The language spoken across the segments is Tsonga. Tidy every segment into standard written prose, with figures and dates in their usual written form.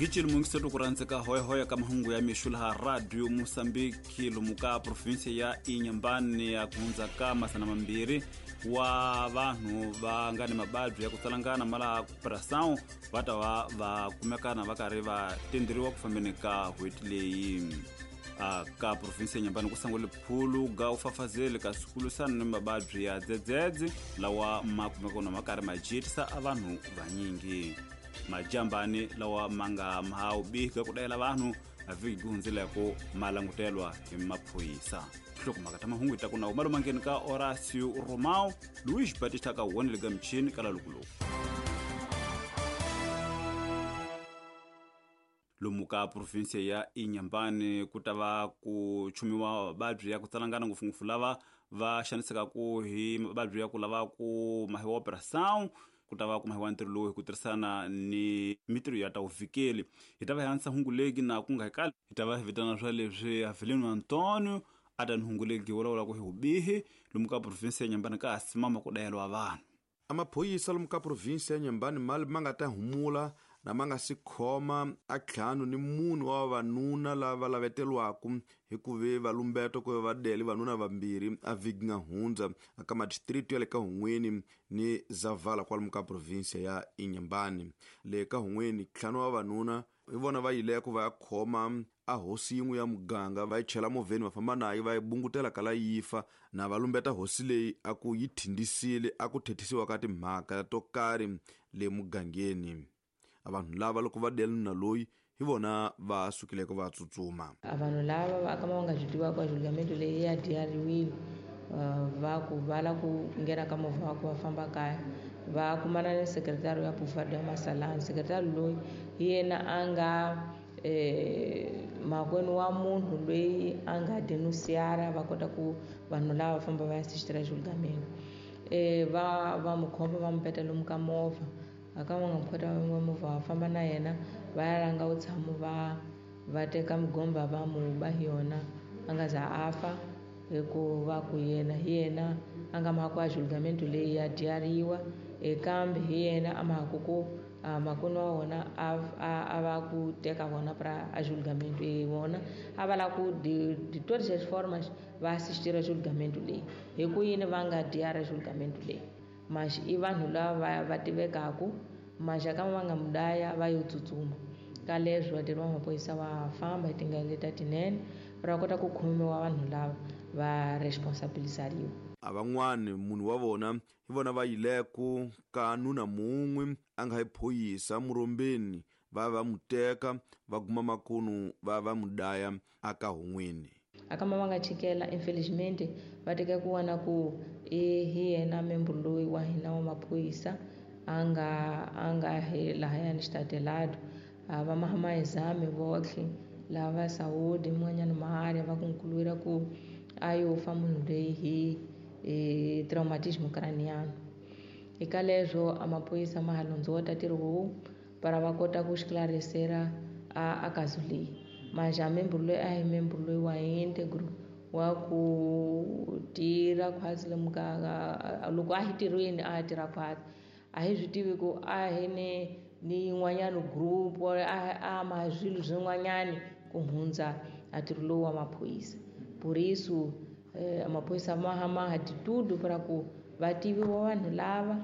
Gicili mungiseto ku rhandzeka hoyahoya ka mahungu ya mixo laha Radio Mosambiki lomu ka provinsia ya Inhambane ya ku hundza ka 200 wa vanhu va nga ni mababyi ya ku tsalangana ma laha pressão va ta va va kumekana va karhi va tenderiwa ku fambeni ka n'hweti leyi. A ka provinsia ya Inhambane ku sangule phulu ga u fafazeli ka swikulusana ni mababyi ya dzedzedze lawa ma kumeka na ma karhi ma jitisa a vanhu vanyingi. Majambani lawa ma nga mahawu bihi ku dayela vanhu a vhiki hundzileko ma langutelwa hi maphorisa. Nhlokomhaka ta mahungu ta ku na malomangeni ka Horacio Romao, Luis Batista ka wonele ga michini ka lalukuluku. Lomu ka provinsia ya Inhambane ku ta va ku chumiwa mavabyi ya ku tsalangana ngopfungopfu lava va xanisekaku hi mavabyi ya ku lava ku mahiwa operação ku ta va ku mahiwa ntirho lowu hi ku tirhisana ni mitirho ya ta vuvikeli. Hi ta va hi antswisa hungu legi na ku nga hi kali hi ta va hi vitana swa leswi Avelino Antonio a ta ni hungu legi vulavulaka hi vubihi lomu ka provinsia ya Inhambane ka ha simama ku dayeliwa vanhu. Amaphoyisa lomu ka provinsia ya Inhambane mali ma nga ta humula na ma nga si khoma a 54 wa vavanuna lava lavetelwaku hi ku ve va lumbeto ku ve va dele vanuna vambirhi a vhiki nga hundza aka madistritu ya le ka Hun'weni ni Zavala kwalomu ka provinsia ya Inhambane. Le ka Hun'weni 5 wa vavanuna hi vona va yileko va ya khoma a hosi yin'we ya muganga va yi chela movheni va famba nayo va yi bungutela kala yi fa na va lumbeta hosi leyi a ku yi thindisile a ku thethisiwa ka timhaka to karhi le mugangeni. A vanhu lava loko va dela nuna loyi hi vona va sukileke va tsutsuma. A vanhu lava va ka va nga swi tivaka ku julgamento leyi ya diyariwile, va ku va la ku nghena ka movha wa ku va famba kaya va kumana ni sekretari ya Pufado ya Masalani. Sekretari loyi hi yena a nga makwenu wa munhu loyi a nga denunciara va kota ku vanhu lava va famba va ya assistira julgamento. Va mu khoma va mu peta lomu ka movha. A ka va nga mu khota va movha va famba na yena va ya langa vutshamo va teka migomba va mu ba hi yona a nga za a fa hikuva ku yena hi yena a nga mhaka a julgamento leyi ya dyariwa, kambe hi yena a mhaka ku makwenu wa wona a va ku teka vona pra a julgamento vona a va lava ku de todas as formas va assistira julgamento leyi. Hi ku yini va nga dyara julgamento leyi? Mas i vanhu lava va tivekaku, maxaka va nga mudaya va yo tsutsuma. Ka leswi vatirhi va maphorisa va famba hi tindlela leti tinene va kota ku khomiwa vanhu lava va responsabilizariwa. A van'wani munhu wa vona hi vona va yileku ka nuna mun'we a nga hi phoyisa murombeni va va mu teka va guma makunu va va mu daya aka Hun'weni. Aka ma va nga chikela infelizmente va teka ku wana ku hi yena member loyi wa hina wa maphorisa a nga hi lahayani xitatelado. A va ma exame votlhe lava Saudi mun'wanyana maharya va concluira ku a yo fa munhu loyi hi traumatismo craniano. Eka leswo a maphorisa ma ha londzota ntirho lowu para va kota ku esclarecer a caso leyi. Mas a membro loyi a hi membro loyi wa integro wa ku tirha khwatsi lomu ka loko a hi tirhweni a tirha khwatsi a hi swi tivi ku a hi ni yin'wanyana group a ma swilo swin'wanyani ku hundza a ntirho lowu wa maphorisa. Por isso, maphorisa ma ha ma de tudo para ku va tiviwa vanhu lava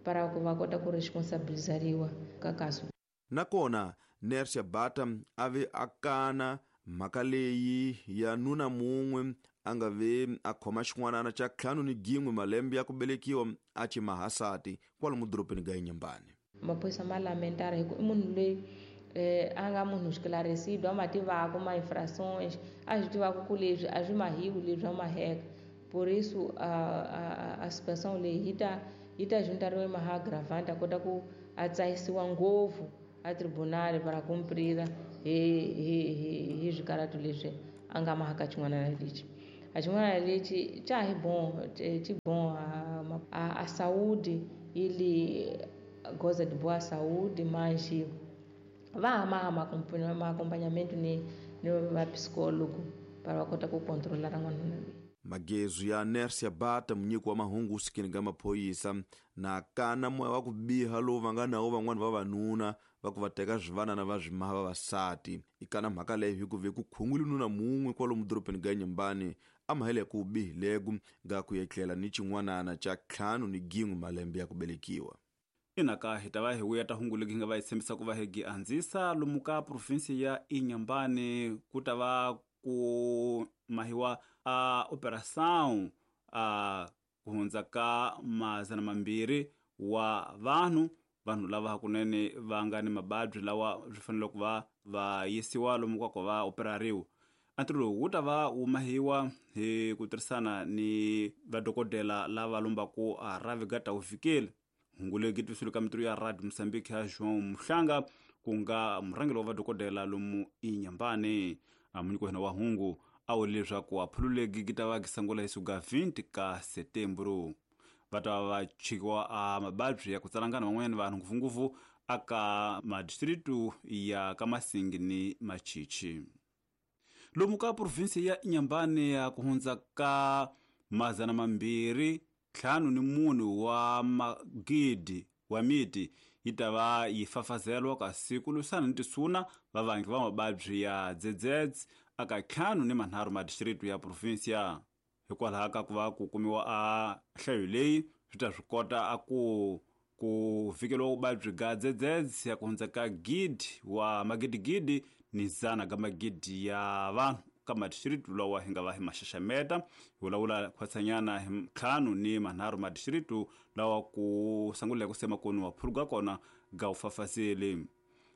para ku va kota ku responsabilizariwa ka caso. Nakona Nercia Bata a ve a kana mhaka leyi ya nuna mun'we a nga ve a khoma xin'wanana xa 51 malembe ya ku velekiwa a ci mahasati kwalomu dorobeni ga Inhambane. Maphorisa ma lamentara hi ku i munhu loyi a nga munhu esclarecido, a ma tivaka ma infrações, a swi tivaka ku leswi a swi mahiwi leswi a maheka. Por isso a situação leyi yi ta juntariwa maha agravante a kota ku a tsahisiwa ngopfu a tribunal para cumprira hi swikarhato leswi a nga mahaka xin'wana na lexi. A xin'wana lexi xa hi bon, xi bon a saúde, ele goza de boa saúde, mas va ma ma acompanhamento ni va psicólogo para va kota ku controlar n'wanuna loyi. Magezu ya Nersia Bata munyiki wa mahungu usikini ga maphoyisa na kana moya wa ku biha lowu va nga nawo van'wana vavanuna va ku va teka swivanana va swimaha vavasati. Ikana mhaka leyi hikuva ku khungwile nuna mun'we kwalomu dorobeni ga Nyambani a mahele ku bihilegu ga ku etlela ni xin'wanana xa 51 malembe ya ku velekiwa. Inaka hi ta va hi vuya ta hungu legi hi nga va hi tshembisa ku va hi gi andzisa lomu ka provinsi ya Inhambane ku ta va ku mahiwa a operação a ku hundza ka 200 wa vanhu lava hakunene va nga ni mababyi lawa swi fanele ku va va yisiwa lomu ka ku va operariwa. Ntirho lowu wu ta va wu mahiwa hi ku tirhisana ni vadokodela lava lombaku a Ravi ta ufikile. Hungu legi twisile ka mitirho ya Radio Mozambique ya João Muhlanga ku nga murhangeri wa vadokodela lomu Inhambane. Munyiki wa hina wa hungu a wule leswaku aphululegi gi ta va gi sungula hi siku 20 ka Setembro. Va ta va chikiwa a mababyi ya ku tsalangana van'wanyana vanhu ngopfungopfu aka madistritu ya ka Masingi ni Machichi. Lomu ka provinsi ya Inhambane ya ku hundza ka 254 wa magidi wa miti yi ta va yi fafazelwa kasi ku lwisana ni tisuna vavangi va mababyi ya dzedzedze aka 53 madistritu ya provinsia. Hikwalaho ka ku va ku kumiwa a nhlayo leyi swi ta swi kota a ku fikeriwa vuvabyi ga dzedzedze ya ku hundza ka gidi wa magidigidi ni zana ga magidi ya vanhu ka madistritu lawa hi nga va hi maxaxameta. Hi vulavula khwatsanyana hi 53 madistritu lawa ku sunguleke ku sema koni wa phuluka kona ga wu fafazeli.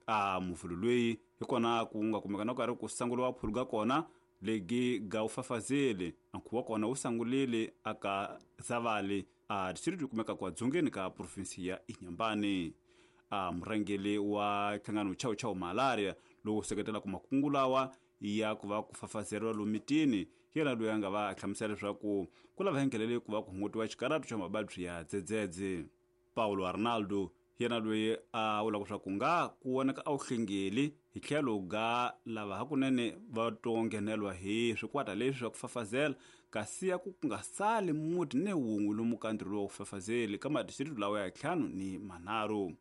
A muvhulu loyi hi kona ku nga kumeka na karhi ku sunguriwa phuluka kona legi ga wu fafazeli. Nkhuvo wa kona wu sungulile aka Zavali a distritu kumeka kwa dzongeni ka provinsi ya Inhambane. A murhangeri wa nhlangano Chau Chau Malaria lowu seketelaka makungu lawa ya ku va ku fafazeriwa lomitini yena loyi a nga va hlamusela leswaku ku lava hengelele ku va ku hungutiwa xikaratu xa mababyi ya dzedzedze. Paulo Arnaldo yena loyi a vulaka leswaku nga ku vonaka a wu hlengeli hi tlhelo ga lava hakunene va to nghenelwa hi swikwata leswi swa ku fafazela kasi ya ku nga sali muti ni wun'we lomu ka ntirho wa ku fafazeli ka madistritu lawa ya 53.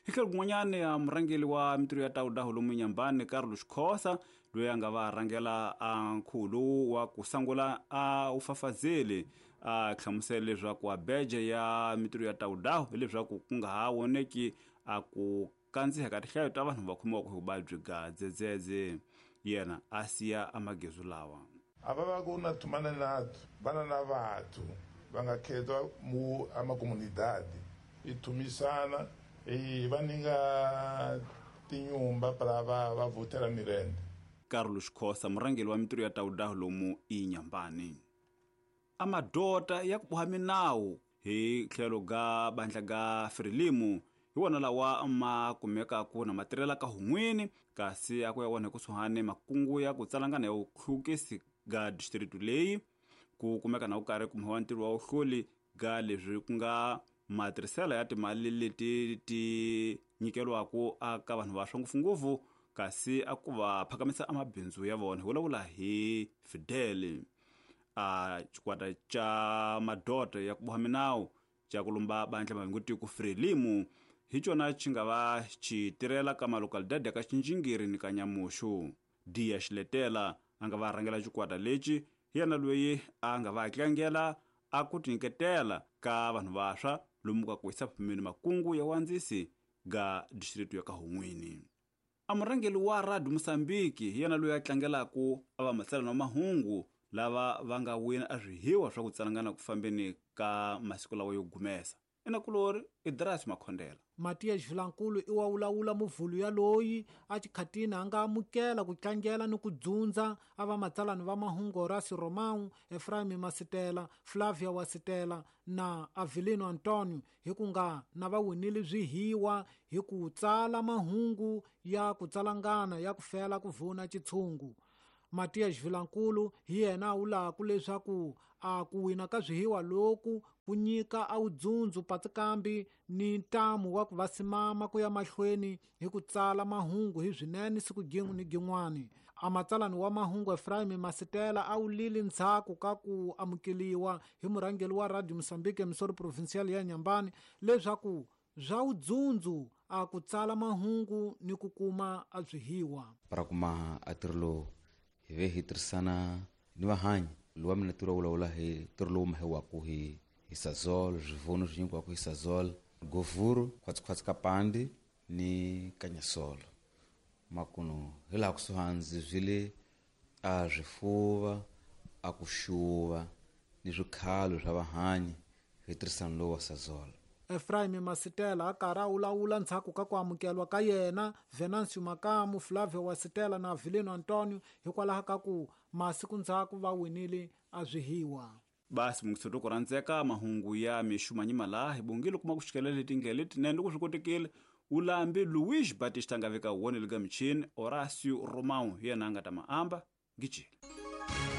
Hi tlhelo kun'wanyana ya murhangeri wa mitirho ya Taudaho lomu Inhambane Carlos Khosa loyi a nga va rhangela a nkhuvo lowu wa ku sungula a wu fafazeli a hlamusela leswaku a beje ya mitirho ya Taudaho hileswaku ku nga ha voneki a ku kandziha ka tinhlayo ta vanhu va khomiwaka hi vuvabyi ga dzedzedze. Yena a siya amagezu lawa. Ava va ku na thumana nato vana na vathu va nga khetwa mu amakomunidade i thumisana i va ninga tinyumba para va votela mirende. Carlos Khosa murhangeri wa mitirho ya Taudaho lomu Inhambane. Amadota ya ku boha minawu hi tlhelo ga bandla ga Frelimo hi wona lawa ma kumekaka na matirhela ka hun'wini kasi a ku ya wona kusuhani makungu ya ku tsalangana ya vuhlukisi ga distritu leyi ku kumeka na ku karhi kumiwa ntirho wa vuhluli ga leswi ku nga matirhiselo ya timali leti ti nyikeriwaka aka vanhu va swa ngopfungopfu kasi a ku va phakamisa amabindzu ya vona. Hi vulavula hi Fidel a xikwata xa madota ya ku boha minawu xa ku lumba bandla mavingotiko Frelimo hi cona xi nga va xi tirhela ka malocalidade ya ka Xinjingiri ni ka Nyamuxu. Dia Xiletela a nga va rhangela xikwata lexi hi yena loyi a nga va tlangela a ku tinyiketela ka vanhu vantshwa lomu ka ku yisa phumeni makungu ya wandzisi ga distritu ya ka Hun'wini. A murhangeri wa Radio Mozambique hi yena loyi a tlangelaka a va matsalana wa mahungu lava va nga wina a swihiwa swa ku tsalangana ku fambeni ka masiku lawa yo gumesa. Inakulori Idras Makhondela. Matias Vilankulu i wa wulawula muvhulu ya loyi a xikhatini a nga amukela ku tlangela ni ku dzundza a va matsalani va mahungu Horacio Romão, Efraim Masitela, Flavia Wasitela na Avelino Antonio hi ku nga na va winile swihiwa hi ku tsala mahungu ya ku tsalangana ya ku fela ku vuna xitshungu. Matias Vilankulu hi yena a wulaku leswaku a ku wina ka swihiwa loku ku nyika a wudzundzu patsikambi ni ntamu wa ku va simama ku ya mahlweni hi ku tsala mahungu hi swinene siku gin'we ni gin'wani. Amatsalani wa mahungu Efraim Masitela a wulile ndzhaku ka ku amukeliwa hi murhangeri wa Radio Mozambique emisoro provincial ya Nyambani leswaku swa udzundzu a ku tsala mahungu ni ku kuma a byihiwa. Para kuma a ntirho lowu hi ve hi tirhisana ni vahanyi lowa mina ntirho vulavula hi ntirho lowu mahiwaku hi Sasol, swivuno swi nyikiwaka hi Sasol, govhuru, khwatsikhwatsi ka pandi ni kanyasolo. Makuno hi laha kusuhani ndzi byile a swifuva, a ku xuva ni swikhalo swa vahanyi hi tirhisano lowu wa Sasol. Efraim Masitela a karhi a wulawula ndzhaku ka ku amukelwa ka yena Venancio Makamu, Flavio Wasitela na Avelino Antonio hikwalaho ka ku masiku ndzhaku va winile a byihiwa. Basi mungisoto ku rhandzeka mahungu ya mixumanyima laha hi bongile kuma ku xikelela letindlela letinene loko swi kotekile ulambi Luis Batista nga veka wona le ka michini Horacio Romão hi yena a nga ta maamba ngijile.